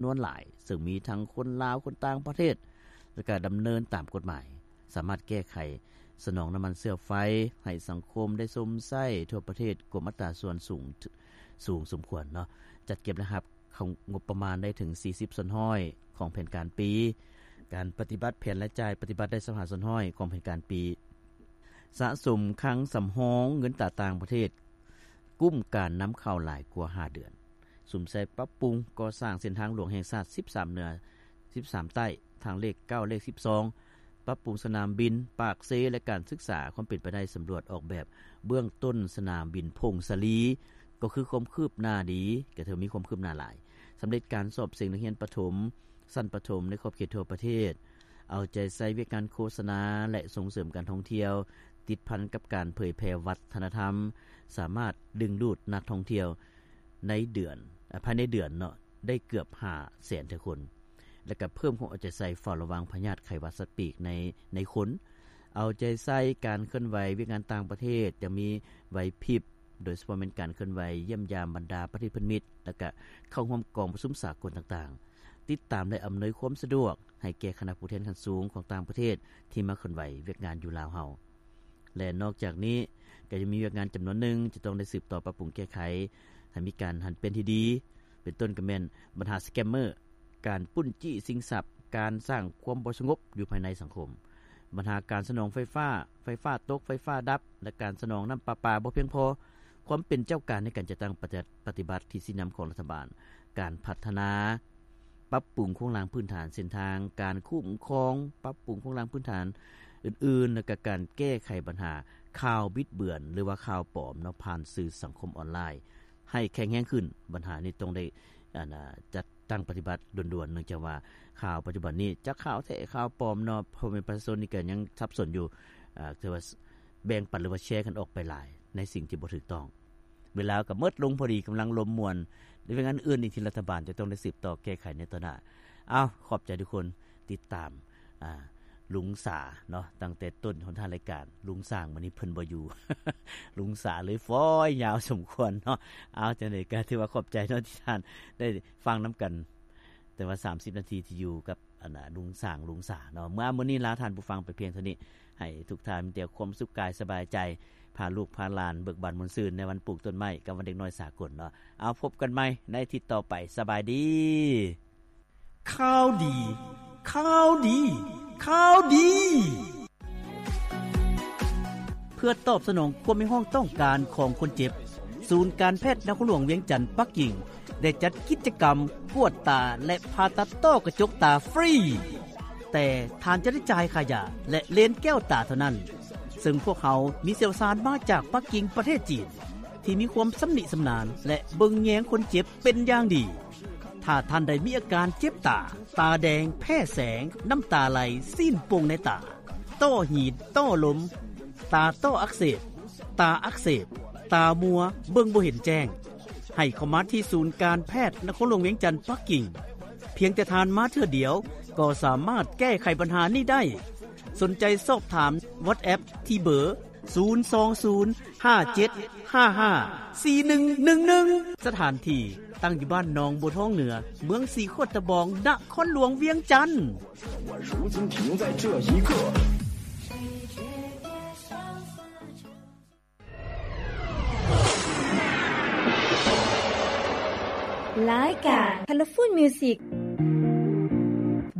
ນວນຫຼາຍ ເຊິ່ງມີທັງຄົນລາວ, ຄົນຕ່າງປະເທດ ແລະ ກະດຳເນີນຕາມກົດໝາຍ, ສາມາດແກ້ໄຂສະໜອງນ້ຳມັນເຊື້ອໄຟໃຫ້ສັງຄົມໄດ້ຊົມໃຊ້ທົ່ວປະເທດ ກວມອັດຕາສ່ວນສູງ ສູງສົມຄວນເນາະ, ຈັດເກັບລາຍຮັບ ເຂົ້າງົບປະມານໄດ້ເຖິງສີ່ສິບສ່ວນຮ້ອຍຂອງແຜນການປີ, ການປະຕິບັດແຜນລາຍຈ່າຍປະຕິບັດໄດ້ຊາວຫ້າສ່ວນຮ້ອຍຂອງແຜນການປີ, ສະສົມຄັງສຳຮອງເງິນຕາຕ່າງປະເທດ ກຸ້ມການນຳເຂົ້າຫຼາຍກວ່າຫ້າເດືອນ, ສຸມໃສ່ປັບປຸງກໍ່ສ້າງເສັ້ນທາງຫຼວງແຫ່ງຊາດສິບສາມເໜືອ ສິບສາມໃຕ້ ທາງເລກເກົ້າ ເລກສິບສອງ, ປັບປຸງສະໜາມບິນປາກເຊ ແລະ ການສຶກສາຄວາມເປັນໄປໄດ້ສຳຫຼວດອອກແບບເບື້ອງຕົ້ນສະໜາມບິນຜົ້ງສາລີ ກໍຄືຄວາມຄືບໜ້າດີ, ກໍຖືວ່າມີຄວາມຄືບໜ້າຫຼາຍ, ສຳເລັດການສອບເສັງນັກຮຽນປະຖົມ ຊັ້ນປະຖົມໃນຂອບເຂດທົ່ວປະເທດ, ເອົາໃຈໃສ່ວຽກງານໂຄສະນາ ແລະ ສົ່ງເສີມການທ່ອງທ່ຽວ, ຕິດພັນກັບການເຜີຍແຜ່ວັດທະນະທຳ, ສາມາດດຶງດູດນັກທ່ອງທ່ຽວໃນເດືອນ, ອາ, ພາຍໃນເດືອນເນາະ, ໄດ້ເກືອບຫ້າແສນເທື່ອຄົນ. ແລະກະເພີ່ມຄວາມເອົາໃຈໃສ່ເຝົ້າລະວັງພະຍາດໄຂ້ຫວັດສັດປີກໃນ, ໃນຄົນ, ເອົາໃຈໃສ່ການເຄື່ອນໄຫວວຽກງານຕ່າງປະເທດຢ່າງມີໄຫວພິບ, ໂດຍສະເພາະແມ່ນການເຄື່ອນໄຫວຢ້ຽມຢາມບັນດາປະເທດພັນມິດ, ແລະກະເຂົ້າຮ່ວມກອງປະຊຸມສາກົນຕ່າງໆ, ຕິດຕາມ ແລະ ອຳນວຍຄວາມສະດວກໃຫ້ແກ່ຄະນະຜູ້ແທນຂັ້ນສູງຂອງຕ່າງປະເທດທີ່ມາເຄື່ອນໄຫວວຽກງານຢູ່ລາວເຮົາ. ແລະ ນອກຈາກນີ້ກໍຍັງມີວຽກງານຈຳນວນໜຶ່ງຈະຕ້ອງໄດ້ສືບຕໍ່ປັບປຸງແກ້ໄຂໃຫ້ມີການຫັນປ່ຽນທີ່ດີ, ເປັນຕົ້ນກໍແມ່ນບັນຫາສະແກມເມີ, ການປຸ້ນຈີ້ຊິງຊັບ, ການສ້າງຄວາມບໍ່ສະຫງົບຢູ່ພາຍໃນສັງຄົມ, ບັນຫາການສະໜອງໄຟຟ້າ, ໄຟຟ້າຕົກ, ໄຟຟ້າດັບ ແລະ ການສະໜອງນ້ຳປະປາບໍ່ພຽງພໍ, ຄວາມເປັນເຈົ້າການໃນການຈັດຕັ້ງປະຕິ, ປະຕິບັດທິດຊີ້ນຳຂອງລັດຖະບານ, ການພັດທະນາ ປັບປຸງໂຄງລ່າງພື້ນຖານເສັ້ນທາງ, ການຄຸ້ມຄອງ, ປັບປຸງໂຄງລ່າງພື້ນຖານອື່ນໆ ແລະກະການແກ້ໄຂບັນຫາຂ່າວບິດເບືອນ ຫຼືວ່າຂ່າວປອມເນາະ ຜ່ານສື່ສັງຄົມອອນລາຍໃຫ້ແຂງແຮງຂຶ້ນ. ບັນຫານີ້ຕ້ອງໄດ້ ອັນ ຈັດຕັ້ງປະຕິບັດດ່ວນໆ ເນື່ອງຈາກວ່າຂ່າວປັດຈຸບັນນີ້ ຈັກຂ່າວແທ້ຂ່າວປອມເນາະ ພໍ່ແມ່ປະຊາຊົນນີ້ກໍຍັງສັບສົນຢູ່, ຖືວ່າແບ່ງປັນ ຫຼືວ່າແຊກັນອອກໄປຫຼາຍໃນສິ່ງທີ່ບໍ່ຖືກຕ້ອງ. ເວລາກໍໝົດລົງພໍດີ, ກຳລັງລົມມ່ວນ ແລະ ວຽກງານອື່ນອີກທີ່ລັດຖະບານຈະຕ້ອງໄດ້ສືບຕໍ່ແກ້ໄຂໃນຕໍ່ໜ້າ. ເອົາ, ຂອບໃຈທຸກຄົນ ຕິດຕາມ, ອາ, ລຸງສາເນາະ, ຕັ້ງແຕ່ຕົ້ນຫົນທາງລາຍການ. ລຸງສ້າງມື້ນີ້ເພິ່ນບໍ່ຢູ່, ລຸງສາເລີຍຟອຍຍາວສົມຄວນເນາະ. ເອົາ, ຈັ່ງໃດກໍຖືວ່າຂອບໃຈເນາະ ທີ່ທ່ານໄດ້ຟັງນຳກັນ ແຕ່ວ່າສາມສິບນາທີທີ່ຢູ່ກັບ ອັນນ່າ ລຸງສ້າງ ລຸງສາເນາະ. ເມື່ອ ມື້ນີ້ລາທ່ານຜູ້ຟັງໄປພຽງເທົ່ານີ້, ໃຫ້ທຸກທ່ານມີແຕ່ຄວາມສຸກກາຍສະບາຍໃຈ, ພາລູກພາຫຼານເບີກບານມ່ວນຊື່ນໃນວັນປູກຕົ້ນໄມ້ກັບວັນເດັກນ້ອຍສາກົນເນາະ. ເອົາ, ພົບກັນໃໝ່ໃນອາທິດຕໍ່ໄປ. ສະບາຍດີ. ຂ່າວດີ, ຂ່າວດີ, ຂ່າວດີ. ເພື່ອຕອບສະໜອງຄວາມຮຽກຮ້ອງຕ້ອງການຂອງຄົນເຈັບ, ສູນການແພດນະຄອນຫຼວງວຽງຈັນ ປັກກິ່ງ ໄດ້ຈັດກິດຈະກຳກວດຕາ ແລະ ຜ່າຕັດຕ້ອກະຈົກຕາຟຣີ, ແຕ່ທ່ານຈະໄດ້ຈ່າຍຄ່າຢາ ແລະ ເລນແກ້ວຕາເທົ່ານັ້ນ, ເຊິ່ງພວກເຮົາມີຊ່ຽວຊານມາຈາກປັກກິ່ງ ປະເທດຈີນ ທີ່ມີຄວາມຊຳນິຊຳນານ ແລະ ເບິ່ງແຍງຄົນເຈັບເປັນຢ່າງດີ. ຖ້າທ່ານໃດມີອາການເຈັບຕາ, ຕາແດງ, ແພ້ແສງ, ນ້ຳຕາໄຫຼ, ຊີ້ນໂປ່ງໃນຕາ, ຕ້ອຫີນ, ຕ້ອລົມ, ຕາຕ້ອອັກເສບ, ຕາອັກເສບ, ຕາມົວ, ເບິ່ງບໍ່ເຫັນແຈ້ງ, ໃຫ້ເຂົ້າມາທີ່ສູນການແພດນະຄອນຫຼວງວຽງຈັນ ປັກກິ່ງ. ພຽງແຕ່ທ່ານມາເທື່ອດຽວກໍສາມາດແກ້ໄຂບັນຫານີ້ໄດ້. ສົນໃຈສອບຖາມ WhatsApp ທີ່ເບີ ສູນສອງສູນ ຫ້າເຈັດ ຫ້າຫ້າ ສີ່ໜຶ່ງໜຶ່ງໜຶ່ງ. ສະຖານທີ່ຕັ້ງຢູ່ບ້ານໜອງບົວທອງເໜືອ, ເມືອງສີໂຄດຕະບອງ, ນະຄອນຫຼວງວຽງຈັນ. ລາຍການ Colorful Music.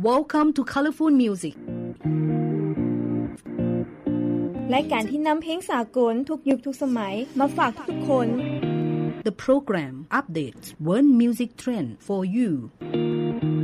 Welcome to Colorful Music. ລາຍການທີ່ນຳເພງສາກົນທຸກຍຸກທຸກສະໄໝມາຝາກທຸກໆຄົນ. The program updates world music trend for you.